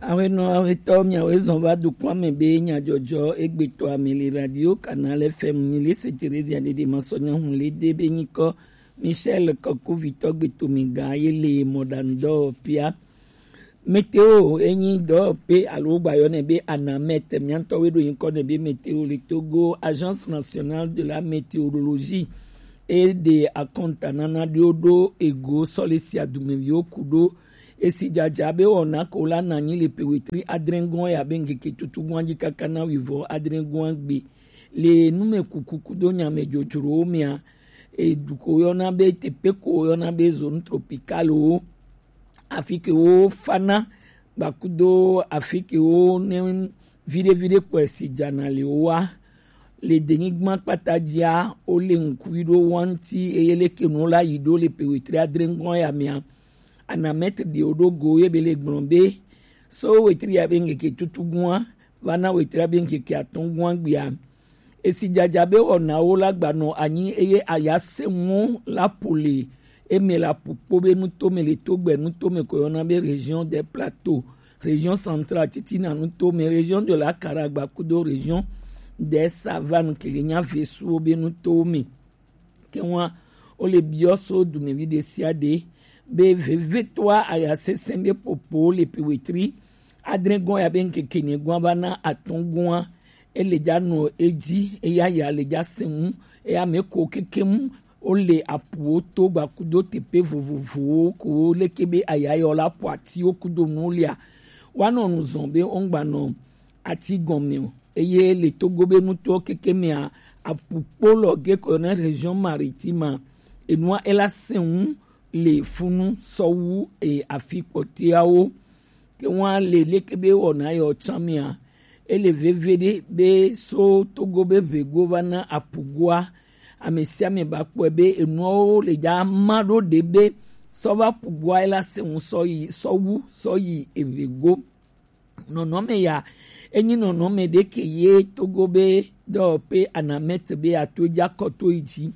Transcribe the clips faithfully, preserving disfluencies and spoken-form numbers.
Awenɔ awetɔ miawe zɔn va dukɔa me be nyadzɔdzɔ egbetɔ ame le radio Canal F M mi le se Theresia dede masɔnya hun le de be nyikɔ Michel Kɔkuvitɔ gbetomi ga ye le mɔɖaŋudɔwɔƒea. Météo enyi dɔwɔƒe alo gbayɔ nɛ be ANAMET, miantɔ we ɖo nyikɔ nɛ be météo le Togo, Agence Nationale de la Météorologie, e ɖe akɔntanana ɖewo ɖo ego sɔle sia dumeviwo ku ɖo Esi dzadza be wɔna ko la na anyi le pe wetri adrɛngɔn ya be ŋkeke tutugbɔn dzi kaka na wivɔ adrɛngɔn gbe. Le numekuku kudo nyamedzodzrowo mea, edu ko yɔna be teƒe ko yɔna be zone tropicale wo, afi ke wo fana gbakudo afi ke wo ne viɖe viɖe kpɔe si dzana le wo wa. Le denyigba kpata dzia, wole ŋkui ɖo wo ŋuti eye leke nuwo la yi ɖo le pe wetri adrɛngɔn ya mea, Anamɛt ɖe wo ɖo go ye be le gblɔ be, so wetri ya be ŋkeke tutugbɔa va na wetri ya be ŋkeke atɔ̃gbɔa gbea, esi dzadza be wɔnawo la gbanɔ anyi eye ayasɛnwo la ƒo le eme la ƒu kpo be nuto me le Togbɛ nuto me ko yɔna be Région des Plateaux, Région Centrale titina nuto me, Région de la Caraïbe kudo Région des Savanes ke le nya vesuwo be nutowo me. Ke ŋua, wole biɔ so dumevi ɖe sia ɖe be vevietɔa aya sesẽ be popo le pe wetri adrɛngɔn ya be ŋkeke enyigɔa va na atɔ̃gɔa, ele dza nɔ edzi, eya ya le dza sẽ ŋu, eya me ko kekeŋ wole apuwo to gbakudo teƒe vovovowo ko leke be aya yɔ la ƒo atiwo kudo nuwo lia, woanɔ nu zɔn be wogbanɔ ati gɔme o. Eye le Togo be nutowo keke mea, apu kpo lɔ ge ko ne Région Maritime, enua ela sẽ ŋu le funu sɔwu e afi kpɔtɔeawo. Ke ŋua le leke be wɔna yɔ tsã mea, ele veve ɖe be so Togo be ʋego va na apugoa, ame sia ame ba kpɔe be enuawo le dza ma ɖo ɖe be sɔ va apugoa ela sẽ ŋu sɔ yi sɔwu sɔ yi eʋego. Nɔnɔme ya, enyi nɔnɔme ɖe ke ye Togo be dɔwɔƒe Anamɛt be ato dza kɔto yi dzi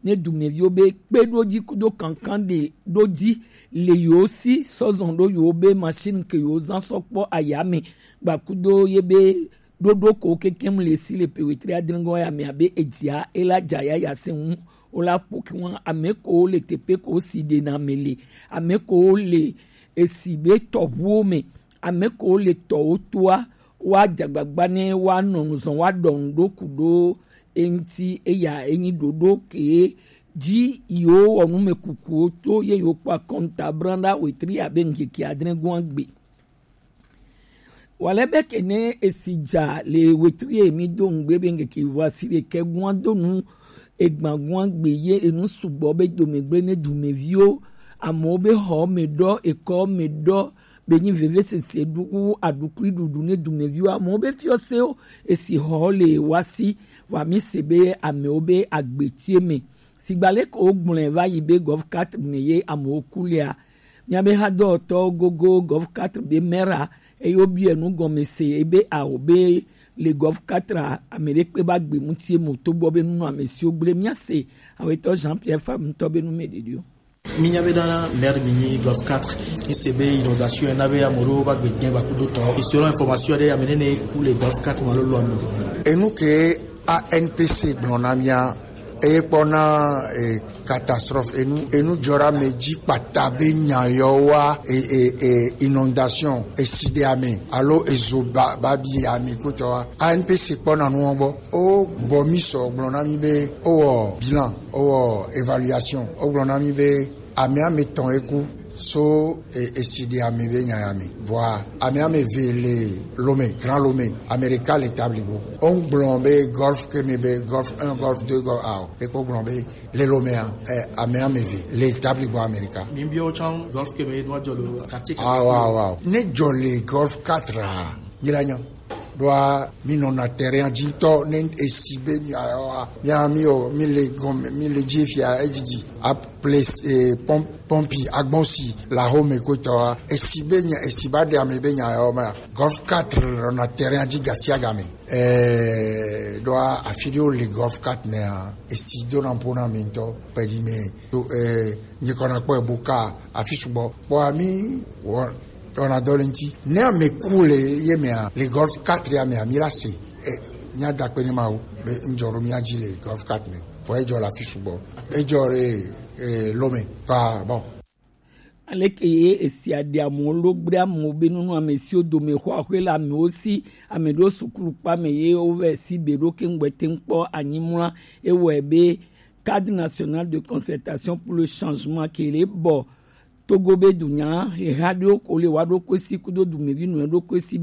ne dumeviwo be kpe ɖo dzi kudo kankan ɖe ɖo dzi le yewo si sɔ zɔn ɖo yewo be machine ke yewo zã sɔ kpɔ ayame gbakudo ye be ɖoɖo ko kekem le si le pe wetri adrɛngɔn ya me abe edzia ela dza ya ya se ŋu o la ƒo ke ŋua ame ko le teƒe ko si ɖena me le ame ko le esi be tɔʋuwo me, ame ko le tɔwo toa, woadze agbagba ne woanɔ nu zɔm, woaɖɔ nu ɖo ku ɖo eŋuti. Eya enyi ɖoɖo ke dzi yewo wɔ numekukuwo to ye yewo kpɔ akɔnta blanɖa wetri abe ŋkeke adre gɔ̃a gbe. Wale be ke ne esi dza le wetri ye mi do ŋgbe be ŋkeke vɔ asi ɖekɛ gɔ̃a do nu Egban gɔ̃a gbe ye enu sugbɔ be domegble ne dumeviwo, amewo be xɔ me ɖɔ, ekɔ me ɖɔ, be nyi vevesese ɖu wu aɖukli ɖuɖu ne dumeviwo, amewo be fiɔsewo esi xɔ le wasi wa mi se be amewo be agbetie me. Sigba leke wo gblɔe va yi be Golf quatre me ye amewo ku lea, Míabe hadɔwɔtɔwo gogo Golf quatre be mera eye wobiɔe nu gɔme se ebe ao be le Golf quatre a, ame ɖekpe ba gbe ŋuti emo togbɔ be nunɔamesiwo gblẽ míase awetɔ Jean Pierre Fabre ŋutɔ be nu me ɖeɖi o. Mínya be na maire mi nyi Golf quatre, mi se be inondation na be ame ɖewo va gbe gɛn va kudo tɔ. Selon information ɖe ame nene ku le Golf quatre ma lolo ame. Enu ke A N P C gblɔ na mía, eye kpɔna e, catastrophe, enu enu dzɔ ɖe ame dzi kpata be nya yɔ wa e, e, e, inondation, esi ɖe ame alo ezo ba ba bi ame kutɔ wa. A N P C kpɔna nuwo gbɔ. O bɔ mi sɔ gblɔ na mi be o wɔ bilan, o wɔ évaluation, o gblɔ na mi be Ame ame tɔn eku so e, esi ɖe ame be nya ya me. Vɔa ame ame ve le Lomé, Grand Lomé, Amerika le tabli bo. O ŋgblɔ be Golf ke me be Golf un, Golf deux, Golf ao. Ekpo gblɔ be le Lomé a, e, ame ame ve le tabli bo Amerika. Mi bi o chan Golf ke me do jɔ le quartier. Ah, wow, wow. Ne jɔ le Golf quatre a, mi la nya. Ɖoa mi nɔna terrain dzi ŋutɔ ne esi be mi ayɔa mia mi o mi le gɔme mi le dzi fia edidi a place eh, pom- pompi agbɔnsi la home kotɔa esi be nya esi ba ɖe ame be nya yɔ ma Golf quatre nɔna terrain dzi gasiagame eh ɖoa afi ɖewo le Golf quatre nea esi dona ƒo na mi ŋutɔ pɛɖi me to eh nyikɔna kpɔ ebuka afi sugbɔ kpɔa mi wɔ Ɔna dɔ le ŋti ne ame ku le ye mea, le Golf quatre ya mea, mi la se. E, mia da kpe ne Mawu be ŋdzɔ ɖo mia dzi le Golf quatre me. Vɔ edzɔ le afi sugbɔ. Edzɔ le, e, Lome. Pa, bon. Aleke ye esia ɖe amewo lo gblẽ amewo be nunu ame siwo dome xɔ axwe le amewo si, ame ɖewo sukulu kpa me ye wovɛ si be ɖo ke ŋgbɛ te ŋkpɔ anyi mla. Ewɔe be Cadre National de Concertation pour le Changement ke le bɔ Togo be dunya heha ɖewo ko le wa ɖo koe si kudo dumevi nɔ ɖo koe si